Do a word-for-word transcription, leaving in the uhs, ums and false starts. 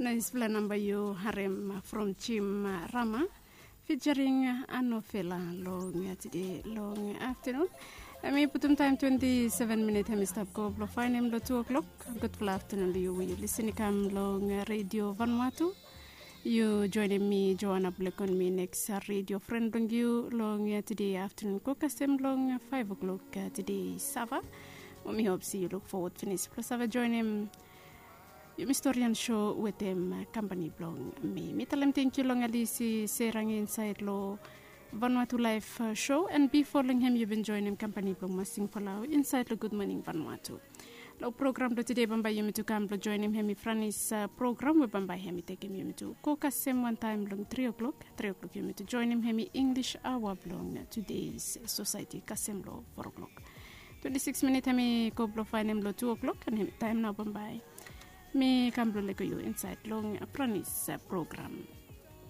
Naispela namba yu harem from Jim Rama featuring Anofela long tide long afternoon. Em i putum taim twenti seven minit em i stap go blong fainem long tu o'clock. Gudfala afternoon long yu we yu lisin i kam long Radio Vanuatu. Yu joinim mi Joana Blekon, mi neks radio fren blong yu long tide afternoon go kasem long five o'clock tide sava. Mi hop se yu luk fowod finis blong save joinim yumi storian show wetem kampani blong mi. Mi talem tenkyu long Alisi Serang insait long Vanuatu Live Show, and bifo long hem yu bin joinim kampani blong Masing Falau insait long Good Morning Vanuatu. Long program blong tide bambae yumi tu kam blong joinim hem i Franis program we bambae hem i tekim yumi tu go kasem wantaem long tri o'clock. Tri o'clock yumi tu joinim hem i English aoa blong Today's Society kasem long four o'clock. Twenti sikis minit hem i go blong fainem long tu o'clock, and hem i taem nao bambae mi kam blong lego yu insait long Franis program.